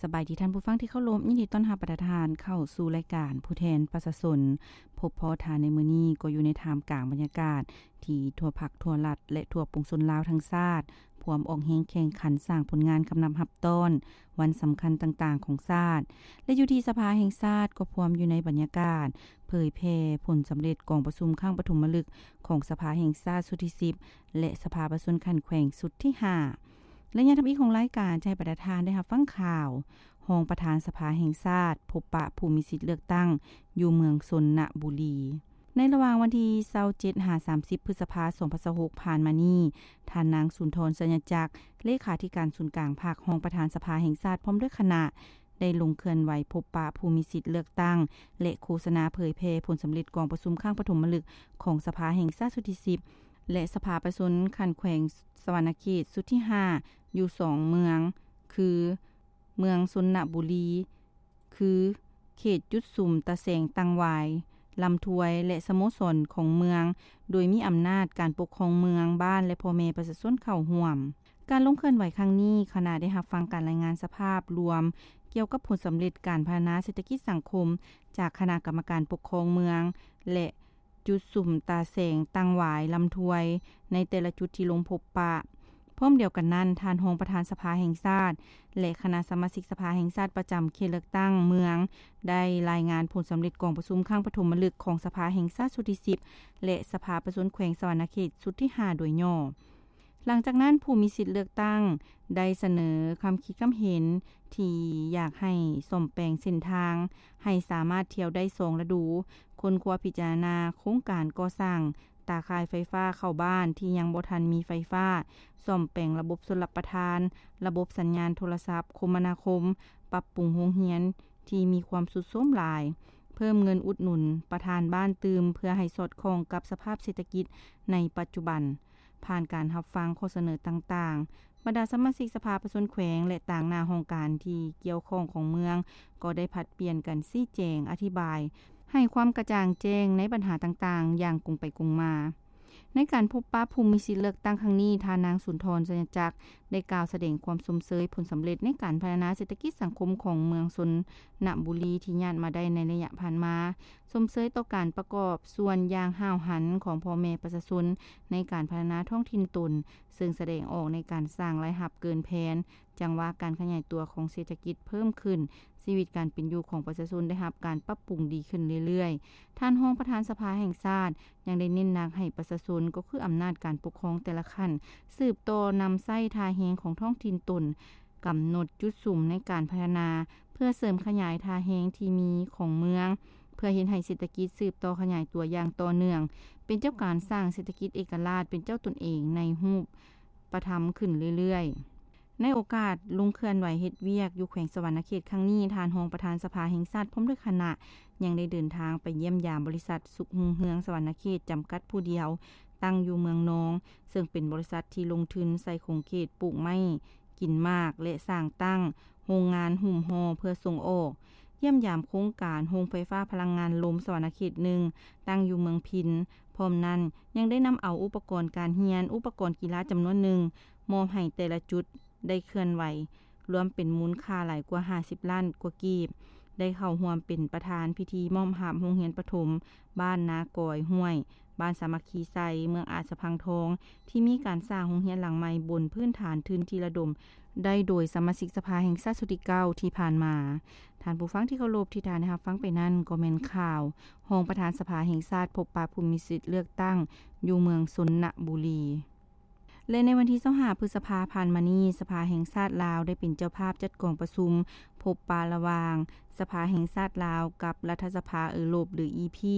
ສະບາຍດີທ່ານຜູ້ຟັງທີ່ເຄົາລົບ, ຍິນດີຕ້ອນຮັບບັນດາທ່ານເຂົ້າສູ່ລາຍການຜູ້ແທນປະຊາຊົນ. ພົບພໍ້ທ່ານໃນມື້ນີ້ກໍຢູ່ໃນທ່າມກາງບັນຍາກາດທີ່ທົ່ວພັກທົ່ວລັດ ແລະ ທົ່ວປວງຊົນລາວທັງຊາດ ພວມອອກແຮງແຂ່ງຂັນສ້າງຜົນງານກຳນັບຮັບຕ້ອນວັນສຳຄັນຕ່າງໆຂອງຊາດ ແລະ ຢູ່ທີ່ສະພາແຫ່ງຊາດກໍພວມຢູ່ໃນບັນຍາກາດເຜີຍແຜ່ຜົນສຳເລັດກອງປະຊຸມຄັ້ງປະຖົມມະລຶກຂອງສະພາແຫ່ງຊາດຊຸດທີສິບ ແລະ ສະພາປະຊາຊົນຂັ້ນແຂວງຊຸດທີຫ້າ. ໄລຍະທຳອິດຂອງລາຍການຈະໃຫ້ບັນດາທ່ານໄດ້ຮັບຟັງຂ່າວ ຮອງປະທານສະພາແຫ່ງຊາດພົບປະຜູ້ມີສິດເລືອກຕັ້ງຢູ່ເມືອງຊົນນະບູລີ. ໃນລະຫວ່າງວັນທີຊາວເຈັດຫາສາມສິບ ພຶດສະພາ ສອງພັນຊາວຫົກ ຜ່ານມານີ້, ທ່ານນາງ ສຸນທອນ ໄຊຍະຈັກ ເລຂາທິການສູນກາງພັກ, ຮອງປະທານສະພາແຫ່ງຊາດ ພ້ອມດ້ວຍຄະນະ ໄດ້ລົງເຄື່ອນໄຫວພົບປະຜູ້ມີສິດເລືອກຕັ້ງ ແລະ ໂຄສະນາເຜີຍແຜ່ຜົນສຳເລັດກອງປະຊຸມຄັ້ງປະຖົມມະລຶກຂອງສະພາແຫ່ງຊາດຊຸດທີສິບ ແລະ ສະພາປະຊາຊົນຂັ້ນແຂວງສະຫວັນນະເຂດຊຸດທີຫ້າ ຢູ່ສອງເມືອງ ຄື ເມືອງຊົນນະບູລີ ຄື ເຂດຈຸດສຸມຕາແສງຕັງຫວາຍ ລຳທວຍ ແລະ ສະໂມສອນຂອງເມືອງ ໂດຍມີອຳນາດການປົກຄອງເມືອງ, ບ້ານ ແລະ ພໍ່ແມ່ປະຊາຊົນເຂົ້າຮ່ວມ. ການລົງເຄື່ອນໄຫວຄັ້ງນີ້, ຄະນະໄດ້ຮັບຟັງການລາຍງານສະພາບລວມກ່ຽວກັບຜົນສຳເລັດການພັດທະນາເສດຖະກິດສັງຄົມຈາກຄະນະກຳມະການປົກຄອງເມືອງ ແລະ ຈຸດສຸມຕາແສງຕັງຫວາຍ ລຳທວຍ ໃນແຕ່ລະຈຸດທີ່ລົງພົບປະ. ພ້ອມດຽວກັນນັ້ນ, ທ່ານຮອງປະທານສະພາແຫ່ງຊາດ ແລະ ຄະນະສະມາຊິກສະພາແຫ່ງຊາດປະຈຳເຂດເລືອກຕັ້ງເມືອງ ໄດ້ລາຍງານຜົນສຳເລັດກອງປະຊຸມຄັ້ງປະຖົມມະລຶກຂອງສະພາແຫ່ງຊາດຊຸດທີສິບ ແລະ ສະພາປະຊາຊົນແຂວງສະຫວັນນະເຂດຊຸດທີຫ້າໂດຍຫຍໍ້. ຫຼັງຈາກນັ້ນ, ຜູ້ມີສິດເລືອກຕັ້ງໄດ້ສະເໜີຄຳຄິດຄຳເຫັນທີ່ຢາກໃຫ້ສ້ອມແປງເສັ້ນທາງໃຫ້ສາມາດທ່ຽວໄດ້ສອງລະດູ, ຄົ້ນຄວ້າພິຈາລະນາໂຄງການກໍ່ສ້າງຕາຂ່າຍໄຟຟ້າເຂົ້າບ້ານທີ່ຍັງບໍ່ທັນມີໄຟຟ້າ, ສ້ອມແປງລະບົບຊົນລະປະທານ, ລະບົບສັນຍານໂທລະສັບຄົມມະນາຄົມ, ປັບປຸງໂຮງຮຽນທີ່ມີຄວາມຊຸດໂຊມຫຼາຍ, ເພີ່ມເງິນອຸດໜູນປະທານບ້ານຕື່ມເພື່ອໃຫ້ສອດຄ່ອງກັບສະພາບເສດຖະກິດໃນປັດຈຸບັນ. ຜ່ານການຮັບຟັງຂໍ້ສະເໜີຕ່າງໆ, ບັນດາສະມາຊິກສະພາປະຊາຊົນແຂວງ ແລະ ຕາງໜ້າຫ້ອງການທີ່ກ່ຽວຂ້ອງຂອງເມືອງ ກໍໄດ້ຜັດປ່ຽນກັນຊີ້ແຈງອະທິບາຍ ໃຫ້ຄວາມກະຈ່າງແຈ້ງໃນບັນຫາຕ່າງໆຢ່າງກົງໄປກົງມາ. ໃນການພົບປະຜູ້ມີສິດເລືອກຕັ້ງຄັ້ງນີ້, ທ່ານນາງ ສຸນທອນ ໄຊຍະຈັກ ໄດ້ກ່າວສະແດງຄວາມຊົມເຊີຍຜົນສຳເລັດໃນການພັດທະນາເສດຖະກິດສັງຄົມຂອງເມືອງຊົນນະບູລີທີ່ຍາດມາໄດ້ໃນໄລຍະຜ່ານມາ, ຊົມເຊີຍຕໍ່ການປະກອບສ່ວນຢ່າງຫ້າວຫັນຂອງພໍ່ແມ່ປະຊາຊົນໃນການພັດທະນາທ້ອງຖິ່ນຕົນ, ເຊິ່ງສະແດງອອກໃນການສ້າງລາຍຮັບເກີນແຜນ, ຈັງຫວະການຂະຫຍາຍຕົວຂອງເສດຖະກິດເພີ່ມຂຶ້ນ, ຊີວິດການເປັນຢູ່ຂອງປະຊາຊົນໄດ້ຮັບການປັບປຸງດີຂຶ້ນເລື້ອຍໆ. ທ່ານຮອງປະທານສະພາແຫ່ງຊາດຍັງໄດ້ເນັ້ນໜັກໃຫ້ປະຊາຊົນ, ກໍຄືອຳນາດການປົກຄອງແຕ່ລະຂັ້ນ, ສືບຕໍ່ນຳໃຊ້ທ່າແຮງຂອງທ້ອງຖິ່ນຕົນ, ກຳນົດຈຸດສຸມໃນການພັດທະນາ ເພື່ອເສີມຂະຫຍາຍທ່າແຮງທີ່ມີຂອງເມືອງ, ເພື່ອເຮັດໃຫ້ເສດຖະກິດສືບຕໍ່ຂະຫຍາຍຕົວຢ່າງຕໍ່ເນື່ອງ, ເປັນເຈົ້າການສ້າງເສດຖະກິດເອກະລາດເປັນເຈົ້າຕົນເອງໃນຮູບປະທຳຂຶ້ນເລື້ອຍໆ. ໃນໂອກາດລົງເຄື່ອນໄຫວເຮັດວຽກຢູ່ແຂວງສະຫວັນນະເຂດຄັ້ງນີ້, ທ່ານຮອງປະທານສະພາແຫ່ງຊາດພ້ອມດ້ວຍຄະນະ ຍັງໄດ້ເດີນທາງໄປຢ້ຽມຢາມບໍລິສັດສຸກຮຸ່ງເຮືອງສະຫວັນນະເຂດຈຳກັດຜູ້ດຽວ, ຕັ້ງຢູ່ເມືອງນອງ, ເຊິ່ງເປັນບໍລິສັດທີ່ລົງທຶນໃສ່ຂົງເຂດປູກໄມ້ ກິນໝາກ ແລະ ສ້າງຕັ້ງໂຮງງານຫຸ້ມຫໍ່ເພື່ອສົ່ງອອກ, ຢ້ຽມຢາມໂຄງການໂຮງໄຟຟ້າພະລັງງານລົມສະຫວັນນະເຂດໜຶ່ງ ຕັ້ງຢູ່ເມືອງພິນ. ພ້ອມນັ້ນ, ຍັງໄດ້ນຳເອົາອຸປະກອນການຮຽນ, ອຸປະກອນກິລາຈຳນວນໜຶ່ງ ມອບໃຫ້ແຕ່ລະຈຸດໄດ້ເຄື່ອນໄຫວ, ລວມເປັນມູນຄ່າຫຼາຍກວ່າຫ້າສິບລ້ານກວ່າກີບ, ໄດ້ເຂົ້າຮ່ວມເປັນປະທານພິທີມອບຮັບໂຮງຮຽນປະຖົມບ້ານນາກອຍຫ້ວຍ, ບ້ານສາມັກຄີໄຊ, ເມືອງອາດສະພັງທອງ, ທີ່ມີການສ້າງໂຮງຮຽນຫຼັງໃໝ່ບົນພື້ນຖານທຶນທີ່ລະດົມໄດ້ໂດຍສະມາຊິກສະພາແຫ່ງຊາດຊຸດທີເກົ້າທີ່ຜ່ານມາ. ທ່ານຜູ້ຟັງທີ່ເຄົາລົບ, ທີ່ທ່ານໄດ້ຮັບຟັງໄປນັ້ນກໍແມ່ນຂ່າວຮອງປະທານສະພາແຫ່ງຊາດພົບປະຜູ້ມີສິດເລືອກຕັ້ງຢູ່ເມືອງຊົນນະບູລີ. ແລະ ໃນວັນທີຊາວຫ້າ ພຶດສະພາຜ່ານມານີ້, ສະພາແຫ່ງຊາດລາວໄດ້ເປັນເຈົ້າພາບຈັດກອງປະຊຸມພົບປະລະຫວ່າງສະພາແຫ່ງຊາດລາວກັບລັດຖະສະພາເອີຣົບ ຫຼື ອີພີ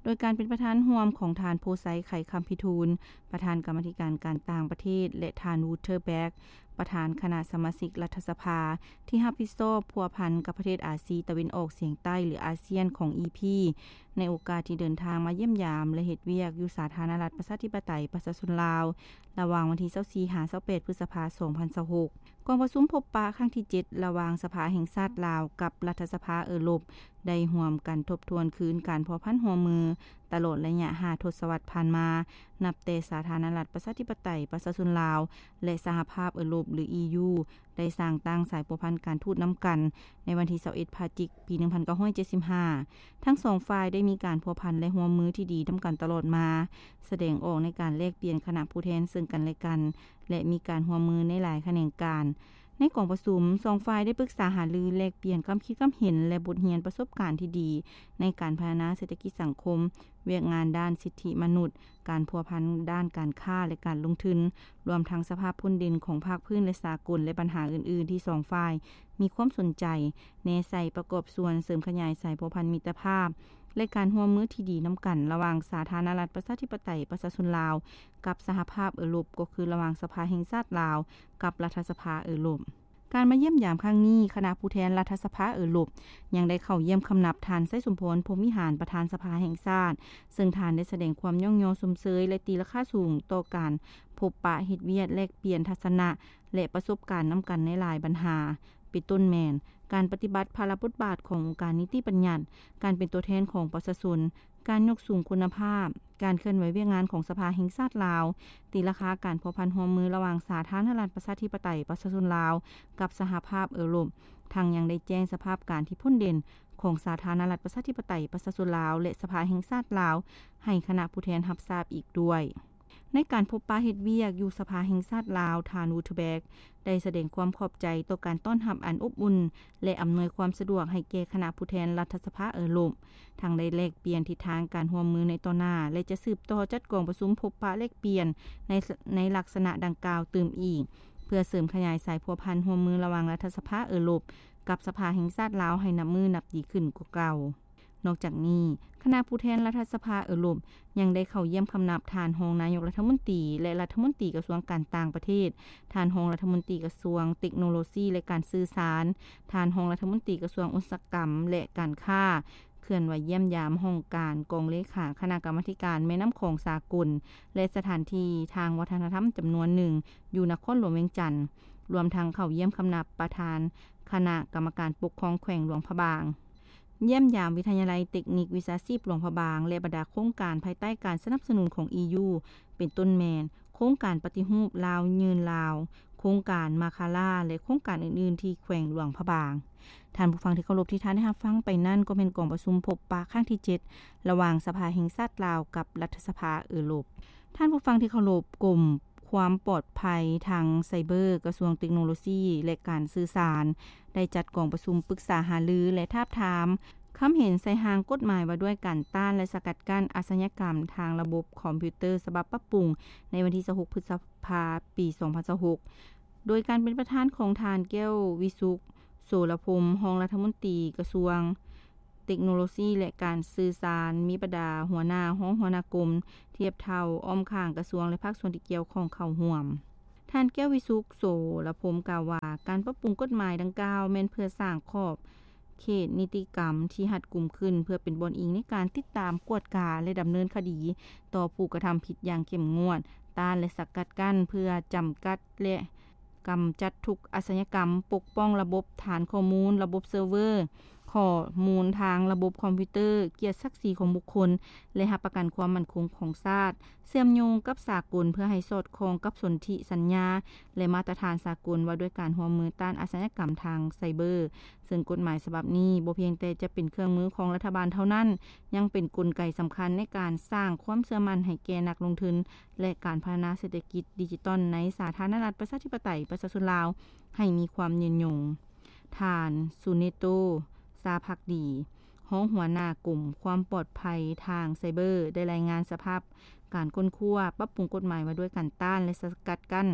ໂດຍການເປັນປະທານຮ່ວມຂອງທ່ານ ໂພໄຊ ໄຂຄຳພິທູນ ປະທານກຳມາທິການການຕ່າງປະເທດ ແລະ ທ່ານ ວູເທີແບັກ ປະທານຄະນະສະມາຊິກລັດຖະສະພາ ທີ່ຮັບຜິດຊອບພົວພັນກັບປະເທດອາຊີຕາເວັນອອກສຽງໃຕ້ ຫຼື ອາຊຽນ ຂອງ ອີພີ ໃນໂອກາດທີ່ເດີນທາງມາຢ້ຽມຢາມ ແລະ ເຮັດວຽກຢູ່ສາທາລະນະລັດປະຊາທິປະໄຕປະຊາຊົນລາວ ລະຫວ່າງວັນທີຊາວສີ່ຫາຊາວແປດ ພຶດສະພາ ສອງພັນຊາວຫົກ. ກອງປະຊຸມພົບປະຄັ້ງທີເຈັດ ລະຫວ່າງສະພາແຫ່ງຊາດລາວກັບລັດຖະສະພາເອີຣົບ ໄດ້ຮ່ວມກັນທົບທວນຄືນການພົວພັນຮ່ວມມືຕະຫຼອດໄລຍະຫ້າທົດສະວັດຜ່ານມາ, ນັບແຕ່ສາທາລະນະລັດປະຊາທິປະໄຕປະຊາຊົນລາວ ແລະ ສະຫະພາບເອີຣົບ ຫຼື ອີຢູ ໄດ້ສ້າງຕັ້ງສາຍພົວພັນການທູດນຳກັນໃນວັນທີຊາວເອັດ ພະຈິກ ປີໜຶ່ງພັນເກົ້າຮ້ອຍເຈັດສິບຫ້າ. ທັງສອງຝ່າຍໄດ້ມີການພົວພັນ ແລະ ຮ່ວມມືທີ່ດີນຳກັນຕະຫຼອດມາ, ສະແດງອອກໃນການແລກປ່ຽນຄະນະຜູ້ແທນເຊິ່ງກັນແລະກັນ ແລະ ມີການຮ່ວມມືໃນຫຼາຍຂະແໜງການ. ໃນກອງປະຊຸມ, ສອງຝ່າຍໄດ້ປຶກສາຫາລື, ແລກປ່ຽນຄວາມຄິດຄວາມເຫັນ ແລະ ບົດຮຽນປະສົບການທີ່ດີໃນການພັດທະນາເສດຖະກິດສັງຄົມ, ວຽກງານດ້ານສິດທິມະນຸດ, ການພົວພັນດ້ານການຄ້າ ແລະ ການລົງທຶນ, ລວມທັງສະພາບພົ້ນເດັ່ນຂອງພາກພື້ນ ແລະ ສາກົນ ແລະ ບັນຫາອື່ນໆທີ່ສອງຝ່າຍມີຄວາມສົນໃຈແນໃສ່ປະກອບສ່ວນເສີມຂະຫຍາຍສາຍພົວພັນມິດຕະພາບ ແລະ ການຮ່ວມມືທີ່ດີນຳກັນລະຫວ່າງສາທາລະນະລັດປະຊາທິປະໄຕປະຊາຊົນລາວ ກັບສະຫະພາບເອີຣົບ, ກໍຄືລະຫວ່າງສະພາແຫ່ງຊາດລາວກັບລັດຖະສະພາເອີຣົບ. ການມາຢ້ຽມຢາມຄັ້ງນີ້, ຄະນະຜູ້ແທນລັດຖະສະພາເອີຣົບຍັງໄດ້ເຂົ້າຢ້ຽມຄຳນັບທ່ານ ໄຊສົມພອນ ພົມວິຫານ ປະທານສະພາແຫ່ງຊາດ, ເຊິ່ງທ່ານໄດ້ສະແດງຄວາມຍ້ອງຍໍຊົມເຊີຍ ແລະ ຕີລາຄາສູງຕໍ່ການພົບປະເຮັດວຽກແລກປ່ຽນທັດສະນະ ແລະ ປະສົບການນຳກັນໃນຫຼາຍບັນຫາ, ເປັນຕົ້ນແມ່ນ ການປະຕິບັດພາລະບົດບາດຂອງອົງການນິຕິບັນຍັດ, ການເປັນຕົວແທນຂອງປະຊາຊົນ, ການຍົກສູງຄຸນນະພາບ, ການເຄື່ອນໄຫວວຽກງານຂອງສະພາແຫ່ງຊາດລາວ, ຕີລາຄາການພົວພັນຮ່ວມມືລະຫວ່າງສາທາລະນະລັດປະຊາທິປະໄຕປະຊາຊົນລາວກັບສະຫະພາບເອີຣົບ, ທັງຍັງໄດ້ແຈ້ງສະພາບການທີ່ພົ້ນເດັ່ນຂອງສາທາລະນະລັດປະຊາທິປະໄຕປະຊາຊົນລາວ ແລະ ສະພາແຫ່ງຊາດລາວ ໃຫ້ຄະນະຜູ້ແທນຮັບຊາບອີກດ້ວຍ. ໃນການພົບປະເຮັດວຽກຢູ່ສະພາແຫ່ງຊາດລາວ, ທ່ານ Wouterberg ໄດ້ສະແດງຄວາມຂອບໃຈຕໍ່ການຕ້ອນຮັບອັນອົບອຸ່ນ ແລະ ອຳນວຍຄວາມສະດວກໃຫ້ແກ່ຄະນະຜູ້ແທນລັດຖະສະພາເອີຣົບ, ທັງໄດ້ແລກປ່ຽນທິດທາງການຮ່ວມມືໃນຕໍ່ໜ້າ ແລະ ຈະສືບຕໍ່ຈັດກອງປະຊຸມພົບປະແລກປ່ຽນໃນ ໃນລັກສະນະດັ່ງກ່າວຕື່ມອີກ, ເພື່ອເສີມຂະຫຍາຍສາຍພົວພັນຮ່ວມມືລະຫວ່າງລັດຖະສະພາເອີຣົບກັບສະພາແຫ່ງຊາດລາວໃຫ້ນັບມື້ນັບດີຂຶ້ນກວ່າເກົ່າ. ນອກຈາກນີ້, ຄະນະຜູ້ແທນລັດຖະສະພາເອີຣົບຍັງໄດ້ເຂົ້າຢ້ຽມຄຳນັບທ່ານຮອງນາຍົກລັດຖະມົນຕີ ແລະ ລັດຖະມົນຕີກະຊວງການຕ່າງປະເທດ, ທ່ານຮອງລັດຖະມົນຕີກະຊວງເຕັກໂນໂລຊີ ແລະ ການສື່ສານ, ທ່ານຮອງລັດຖະມົນຕີກະຊວງອຸດສາຫະກຳ ແລະ ການຄ້າ, ເຄື່ອນໄຫວຢ້ຽມຢາມຫ້ອງການກອງເລຂາຄະນະກຳມາທິການແມ່ນ້ຳຂອງສາກົນ ແລະ ສະຖານທີ່ທາງວັດທະນະທຳຈຳນວນໜຶ່ງຢູ່ນະຄອນຫຼວງວຽງຈັນ, ລວມທັງເຂົ້າຢ້ຽມຄຳນັບປະທານຄະນະກຳມະການປົກຄອງແຂວງຫຼວງພະບາງ. ຢ້ຽມຢາມວິທະຍາໄລເຕັກນິກວິຊາຊີບຫຼວງພະບາງ ແລະ ບັນດາໂຄງການພາຍໃຕ້ການສະໜັບສະໜູນຂອງ ອີຢູ ເປັນຕົ້ນແມ່ນ ໂຄງການປະຕິຮູບລາວຍືນລາວ, ໂຄງການມາຄາລາ ແລະ ໂຄງການອື່ນໆທີ່ແຂວງຫຼວງພະບາງ. ທ່ານຜູ້ຟັງທີ່ເຄົາລົບ, ທີ່ທ່ານໄດ້ຮັບຟັງໄປນັ້ນ ກໍແມ່ນກອງປະຊຸມພົບປະຄັ້ງທີເຈັດ ລະຫວ່າງສະພາແຫ່ງຊາດລາວກັບລັດຖະສະພາເອີຣົບ. ທ່ານຜູ້ຟັງທີ່ເຄົາລົບ, ກົມຄວາມປອດໄພທາງໄຊເບີ ກະຊວງເຕັກໂນໂລຊີ ແລະ ການສື່ສານ ໄດ້ຈັດກອງປະຊຸມປຶກສາຫາລື ແລະ ທາບທາມຄຳເຫັນໃສ່ຮ່າງກົດໝາຍວ່າດ້ວຍການຕ້ານ ແລະ ສະກັດກັ້ນອາຊະຍາກຳທາງລະບົບຄອມພິວເຕີ ສະບັບປັບປຸງ ໃນວັນທີຊາວຫົກ ພຶດສະພາ ປີສອງພັນຊາວຫົກ ໂດຍການເປັນປະທານຂອງທ່ານ ແກ້ວວິສຸກ ໂສລະພົມ ຮອງລັດຖະມົນຕີກະຊວງ ເຕັກໂນໂລຊີ ແລະ ການສື່ສານ, ມີບັນດາຫົວໜ້າ, ຮອງຫົວໜ້າກົມ, ທຽບເທົ່າ, ອ້ອມຂ້າງກະຊວງ ແລະ ພາກສ່ວນທີ່ກ່ຽວຂ້ອງເຂົ້າຮ່ວມ. ທ່ານ ແກ້ວວິສຸກ ໂສລະພົມ ກ່າວວ່າ ການປັບປຸງກົດໝາຍດັ່ງກ່າວແມ່ນເພື່ອສ້າງຂອບເຂດນິຕິກຳທີ່ຮັດກຸມຂຶ້ນ ເພື່ອເປັນບ່ອນອີງໃນການຕິດຕາມ, ກວດກາ ແລະ ດຳເນີນຄະດີຕໍ່ຜູ້ກະທຳຜິດຢ່າງເຂັ້ມງວດ, ຕ້ານ ແລະ ສະກັດກັ້ນ ເພື່ອຈຳກັດ ແລະ ກຳຈັດທຸກອາຊະຍາກຳ, ປົກປ້ອງລະບົບຖານຂໍ້ມູນ, ລະບົບເຊີເວີ, ຂໍ້ມູນທາງລະບົບຄອມພິວເຕີ, ກຽດສັກສີຂອງບຸກຄົນ ແລະ ຮັບປະກັນຄວາມໝັ້ນຄົງຂອງຊາດ, ເຊື່ອມໂຍງກັບສາກົນ ເພື່ອໃຫ້ສອດຄ່ອງກັບສົນທິສັນຍາ ແລະ ມາດຕະຖານສາກົນວ່າດ້ວຍການຮ່ວມມືຕ້ານອາຊະຍາກຳທາງໄຊເບີ, ເຊິ່ງກົດໝາຍສະບັບນີ້ບໍ່ພຽງແຕ່ຈະເປັນເຄື່ອງມືຂອງລັດຖະບານເທົ່ານັ້ນ, ຍັງເປັນກົນໄກສຳຄັນໃນການສ້າງຄວາມເຊື່ອໝັ້ນໃຫ້ແກ່ນັກລົງທຶນ ແລະ ການພັດທະນາເສດຖະກິດດິຈິຕອນໃນສາທາລະນະລັດປະຊາທິປະໄຕປະຊາຊົນລາວໃຫ້ມີຄວາມຍືນຍົງ. ທ່ານ ຊູເນໂຕ ຊາພັກດີ, ຮອງຫົວໜ້າກົມຄວາມປອດໄພທາງໄຊເບີ ໄດ້ລາຍງານສະພາບການຄົ້ນຄວ້າປັບປຸງກົດໝາຍວ່າດ້ວຍການຕ້ານ ແລະ ສະກັດກັ້ນ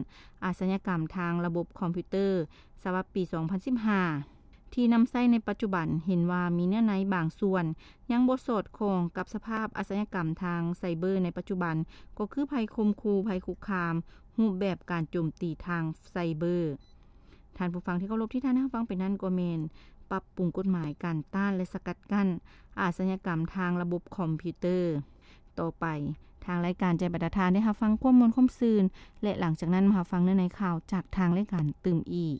ອາຊະຍາກຳທາງລະບົບຄອມພິວເຕີ ສະບັບປີສອງພັນສິບຫ້າ ທີ່ນຳໃຊ້ໃນປັດຈຸບັນ ເຫັນວ່າມີເນື້ອໃນບາງສ່ວນຍັງບໍ່ສອດຄ່ອງກັບສະພາບອາຊະຍາກຳທາງໄຊເບີໃນປັດຈຸບັນ, ກໍຄືໄພຂົ່ມຂູ່, ໄພຄຸກຄາມ, ຮູບແບບການໂຈມຕີທາງໄຊເບີ. ທ່ານຜູ້ຟັງທີ່ເຄົາລົບ, ທີ່ທ່ານໄດ້ຮັບຟັງໄປນັ້ນກໍແມ່ນປັບປຸງກົດໝາຍການຕ້ານ ແລະ ສະກັດກັ້ນອາຊະຍາກຳທາງລະບົບຄອມພິວເຕີ. ຕໍ່ໄປ, ທາງລາຍການຈະໃຫ້ບັນດາທ່ານໄດ້ຮັບຟັງຄວາມມ່ວນຄວາມຊື່ນ ແລະ ຫຼັງຈາກນັ້ນມາຮັບຟັງເນື້ອໃນຂ່າວຈາກທາງລາຍການຕື່ມອີກ.